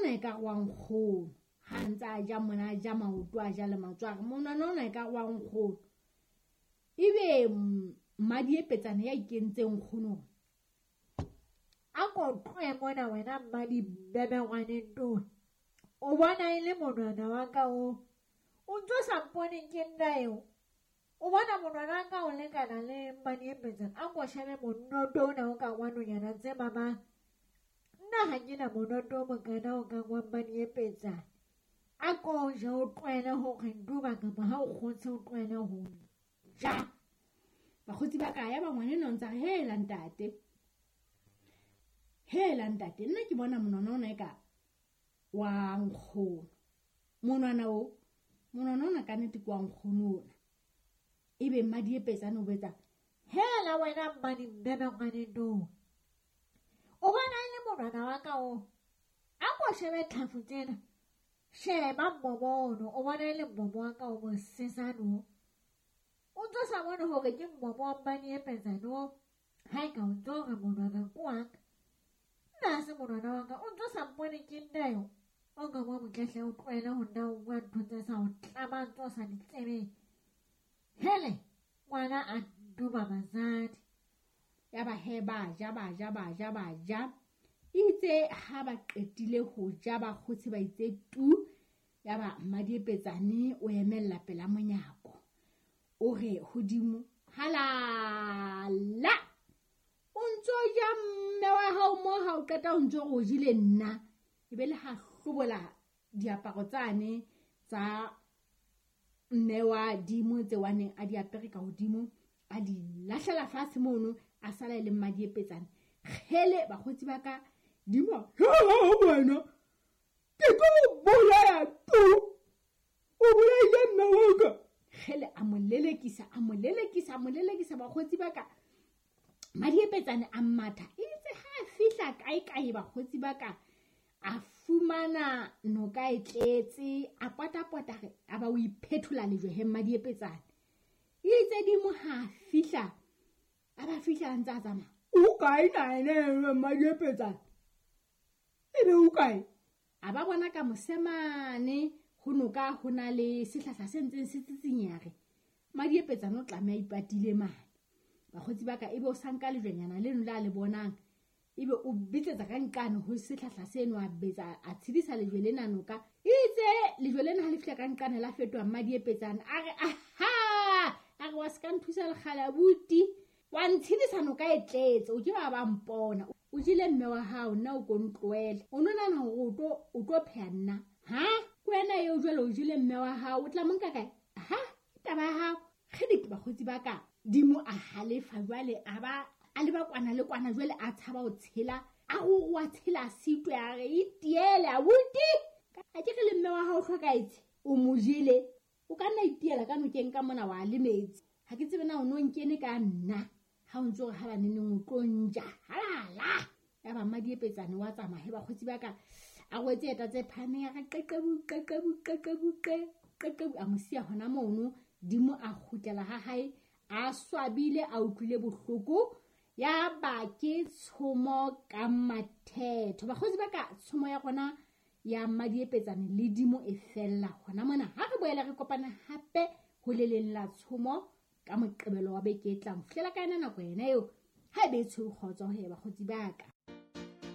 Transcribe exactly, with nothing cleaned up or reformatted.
ona e ka re wa nkgono. Ha ntse a ja mona a ja maoto a ja le matsoho, a re monwana ona e ka re wa nkgono. Ebe Mmadiepetsane ya ikentseng nkgono, a ko tlohe mona wena Mmadibebe ngwaneng towe. O bona e le monwana wa ka o. O ntso sa mpone ke nna eo. O bona monwana wa ka o lekana le Mmadiepetsane. A ko shebe monoto ona o ka wa nonyana tse mamang. Nna ha ke na monoto o mokana o kang wa Mmadiepetsane. A ko je o tlohele hore nduba kapa ha o kgotse o tlohele ho ja. Bakgotsi ba ka ya ba ngwaneno ntse a re, hela ntate, hela ntate, nna ke bona monwana ona e ka wa nkgono. Monwana o, monwana ona ka nnete ke wa nkgono ona. Ebe Mmadiepetsane o betsa, hela wena Mmadibebe ngwaneng towe. O bona e le monwana wa ka o. A ko shebe tlhafu tsena. Sheba mmomo ono, o bona e le mmomo wa ka o mosesane o. O ntso sa bone hore ke mmomo wa Mmadiepetsane o. Ha e ka o ntso re monwana ke wa ka. Nna ha se monwana wa ka, o ntso sa mpone ke nna eo. O nka mo motletle o tlohele ho nna o bua ntho tse sa o tlamang tse o sa di tsebeng. Hele, ngwana a duba basadi. Ya ba he ba ja ba ja ba ja ba ja. Itse ha ba qetile ho ja ba kgotse ba itse tu. Ya ba Mmadiepetsane o emella pela monyako. O re hodimo, halala, o ntso ja mme wa hao mo ha o qeta o ntso o jile nna. Ebe le ha hlobola diaparo tsane tsa mme wa dimo tse wa neng a di apere ka hodimo, a di lahlela fatshe mono, a sala e le Mmadiepetsane. Kgele bakgotsi ba ka, dimo, wena ke tlo o bolaya tu, o bolaile mme wa ka. Kgele a mo lelekisa, a mo lelekisa, a mo lelekisa bakgotsi ba ka. Mmadiepetsane a matha, itse ha a fihla kae kae bakgotsi ba ka, a fumana noka e tletse, a potapota re, a ba o iphethola lejwe he Mmadiepetsane. Itse dimo ha a fihla, a ba fihla a ntse a tsamaya. O kae na ene Mmadiepetsane? Ebe o kae? A ba bona ka mosemane ho noka ho na le sehlahla se ntseng se tsitsinyare. Mmadiepetsane o tlameha a ipatile mane. Bakgotsi ba ka, ebe o sa nka lejwenyana leno la le bonang, ebe o betsetsa ka nqane ho sehlahla seno, a betsa a tshedisa lejwe lena noka. Itse lejwe lena ha le fihla ka nqane la fetoha Mmadiepetsane. A re aha, a re wa se ka nthusa lekgale abuti, wa ntshedisa noka e tletse, o ke ba ba mpona. O jele mme wa hao, nna o ko ntlohele. O no nahana hore o tlo, o tlo pheha nna. Ha? Ke wena eo jwale o jele mme wa hao, o tla mo nka kae? Ha? Ke taba ya hao. Kgidi bakgotsi ba ka, dimo a halefa jwale, a ba a leba kwana le kwana jwale a tshaba ho tshela, a ho a tshela sitwe, a re itiele abuti. A ke re le mme wa hao o hlokahetse, o mo jele, o ka nna itiela ka nokeng ka mona wa le metsi. Ha ke tsebe na o no nkene ka nna, ha o ntso re ha ba neneng o tlo nja. Halala. Ya ba Mmadiepetsane wa tsamaya he bakgotsi ba ka, a rwetse eta tse phahameng, a re qeqebu qeqebu qeqebu qe qeqebu, a mo siya hona mono. Dimo a kgutlela ha hae, a swabile, a utlwile bohloko. Ya ba ke tshomo ka mathetho. Bakgotsi ba ka, tshomo ya rona ya Mmadiepetsane le dimo e fella hona mona. Ha re boela re kopana hape ho le leng la tshomo ka Moqebelo wa beke e tlang. Fihlela ka yona nako ena eo, ha ebe e tshwere kgotso he bakgotsi ba ka.